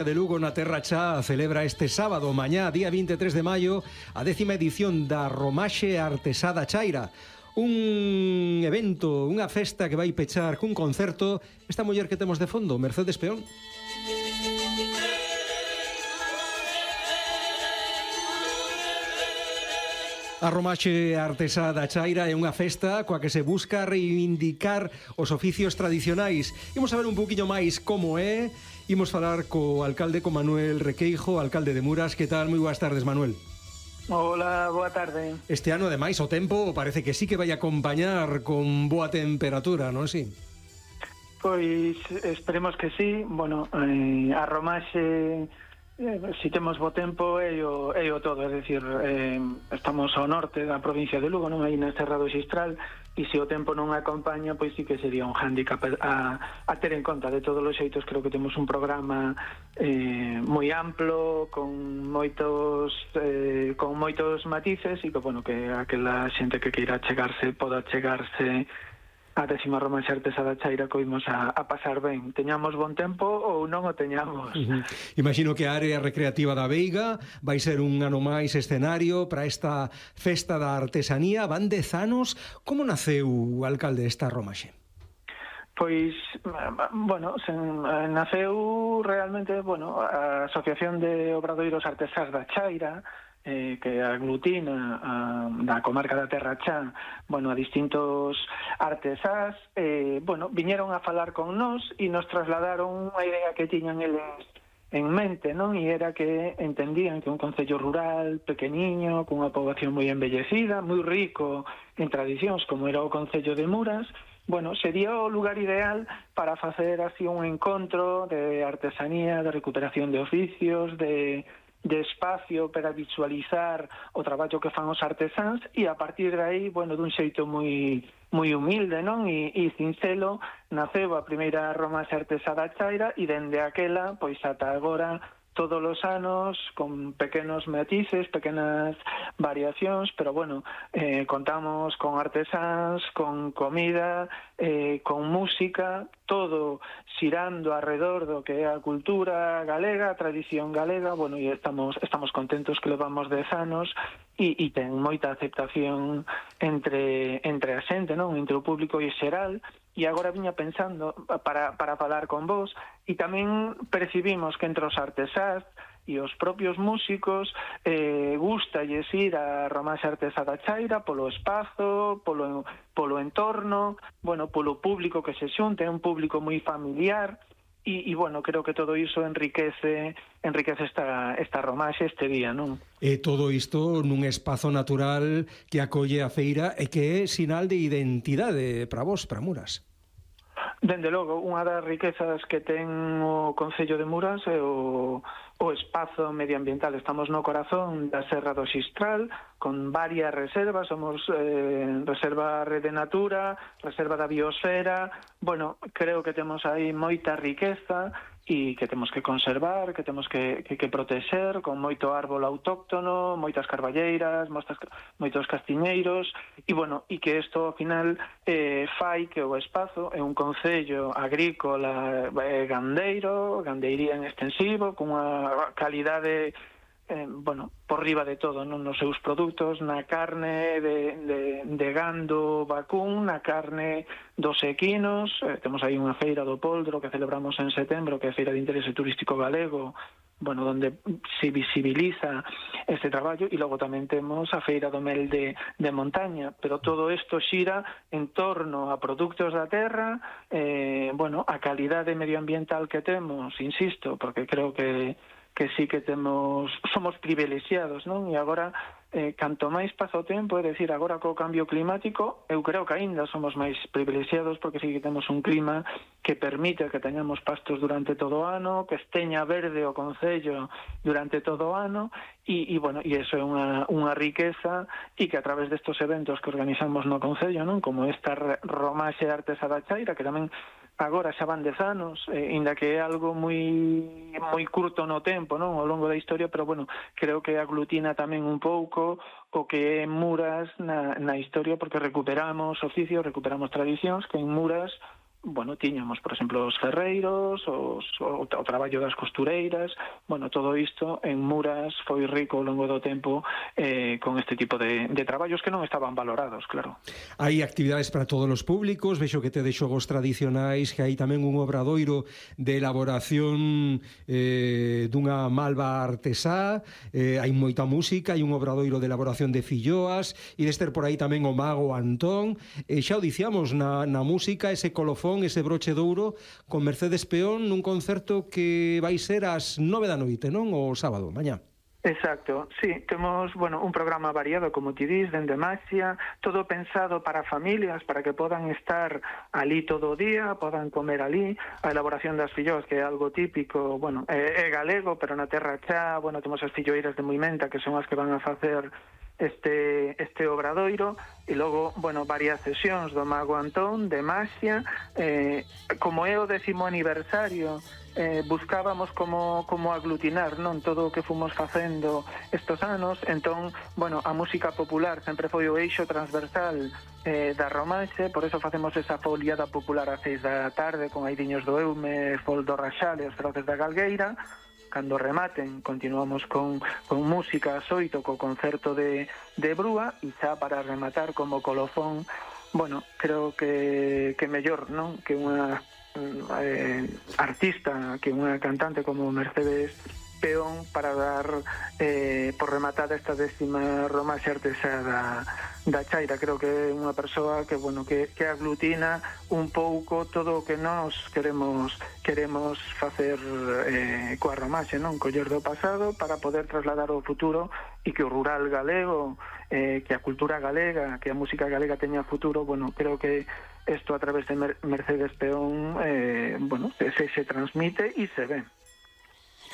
De Lugo na Terra Chá celebra este sábado, mañá, día 23 de maio, a 10ª edición da Romaxe Artesá da Chaira. Un evento, unha festa que vai pechar cun concerto esta muller que temos de fondo, Mercedes Peón. A Romaxe Artesá da Chaira é unha festa coa que se busca reivindicar os oficios tradicionais. Imos saber un poquinho máis como é. Imos falar co alcalde, con Manuel Requeijo, alcalde de Muras. Que tal? Moi boas tardes, Manuel. Hola, boa tarde. Este ano, ademais, o tempo parece que sí que vai acompañar con boa temperatura, non si? Pois esperemos que sí. Bueno, a Romaxe, si temos bo tempo, é o todo. É dicir, estamos ao norte da provincia de Lugo, non aí na Serra do Xistral, e se o tempo non acompaña, pois sí que sería un hándicap a ter en conta. De todos os xeitos, creo que temos un programa moi amplo, con moitos matices, e que, bueno, que aquela xente que queira chegarse poda chegarse a 10ª Romaxe Artesá da Chaira, que imos a pasar ben, teñamos bon tempo ou non o teñamos. Imagino que a área recreativa da Veiga vai ser un ano máis escenario para esta festa da artesanía. Van 10 anos. Como naceu, alcalde, esta Romaxe? Pois, bueno, naceu realmente, a Asociación de Obradoiros Artesás da Chaira, que aglutina da comarca da Terra Chá, a distintos artesás, viñeron a falar con nós e nos trasladaron unha idea que tiñan eles en mente, non? E era que entendían que un concello rural, pequeniño, cunha poboación moi embellecida, moi rico en tradicións, como era o concello de Muras, sería o lugar ideal para facer así un encontro de artesanía, de recuperación de oficios, de espacio para visualizar o traballo que fan os artesáns, e a partir de aí, dun xeito moi humilde, non? E sincero, naceu a primeira Romaxe Artesá da Chaira, e dende aquela, pois ata agora, todos os anos, con pequenos matices, pequenas variacións, pero contamos con artesáns, con comida, con música, todo xirando alrededor do que é a cultura galega, a tradición galega, e estamos contentos que levamos 10 anos e ten moita aceptación entre a xente, non? Entre o público e xeral. E agora viña pensando para falar con vos, e tamén percibimos que entre os artesás e os propios músicos gústalles ir a Romaxe Artesá da Chaira polo espazo, polo entorno, polo público que se xunte, é un público moi familiar, e creo que todo iso enriquece esta Romaxe este día, non? E todo isto nun espazo natural que acolle a feira e que é sinal de identidade para vos, para Muras. Dende logo, unha das riquezas que ten o Concello de Muras é o espazo medioambiental. Estamos no corazón da Serra do Xistral, con varias reservas. Somos Reserva Rede Natura, Reserva da Biosfera. Creo que temos aí moita riqueza e que temos que conservar, que temos que protexer, con moito árbol autóctono, moitas carballeiras, moitos castiñeiros, e que isto, ao final, fai que o espazo é un concello agrícola gandeiría en extensivo, cunha calidade por riba de todo, non? Nos seus produtos, na carne de gando vacún, na carne dos equinos. Temos aí unha feira do Poldro que celebramos en setembro, que é a Feira de Interese Turístico Galego, donde se visibiliza este traballo, e logo tamén temos a Feira do Mel de Montaña, pero todo isto xira en torno a produtos da terra, a calidade medioambiental que temos, insisto, porque creo que sí que somos privilexiados, non? E agora, canto máis pasa o tempo, é dicir, agora co cambio climático, eu creo que aínda somos máis privilexiados, porque sí que temos un clima que permite que teñamos pastos durante todo o ano, que esteña verde o concello durante todo o ano, e iso é unha riqueza, e que a través destes eventos que organizamos no concello, non? Como esta Romaxe Artesá da Chaira, que tamén agora xa van 10 anos, inda que é algo moi curto no tempo, non? Ao longo da historia, pero creo que aglutina tamén un pouco o que é Muras na historia, porque recuperamos oficios, recuperamos tradicións que en Muras bueno, tiñamos, por exemplo, os ferreiros, o traballo das costureiras, bueno, todo isto en Muras foi rico ao longo do tempo con este tipo de traballos que non estaban valorados, claro. Hai actividades para todos os públicos, vexo que tedes xogos tradicionais, que hai tamén un obradoiro de elaboración dunha malva artesá, hai moita música, hai un obradoiro de elaboración de filloas, e deste por aí tamén o mago Antón, xa o diciamos, na música, ese colofón, ese broche de ouro con Mercedes Peón nun concerto que vai ser ás 9 da noite, non? O sábado, mañá. Exacto, sí, temos, bueno, un programa variado, como ti dis, dende Maxia, todo pensado para familias, para que podan estar ali todo o día, podan comer ali, a elaboración das filloas, que é algo típico, bueno, é galego, pero na terra xa, bueno, temos as filloeiras de Muimenta, que son as que van a facer este obradoiro, e logo, bueno, varias sesións do Mago Antón, de Maxia, como é o 10º aniversario, buscábamos como aglutinar, non, todo o que fomos facendo estos anos, entón, bueno, a música popular sempre foi o eixo transversal da Romanxe, por eso facemos esa foliada popular ás 6 da tarde, con Aidiños do Eume, Fol do Raxal e os Feroces da Galgueira. Cando rematen, continuamos con música ás 8, co concerto de Brúa, e xa para rematar como colofón, bueno, creo que mellor, non? Que unha artista, que unha cantante como Mercedes Peón, para dar por rematada esta 10ª Romaxe Artesá da Chaira. Creo que é unha persoa que, bueno, que aglutina un pouco todo o que nós queremos facer coa Romaxe, non? Coller do pasado para poder trasladar ao futuro, e que o rural galego, que a cultura galega, que a música galega teña futuro. Bueno, creo que isto a través de Mercedes Peón, bueno, se transmite e se ve.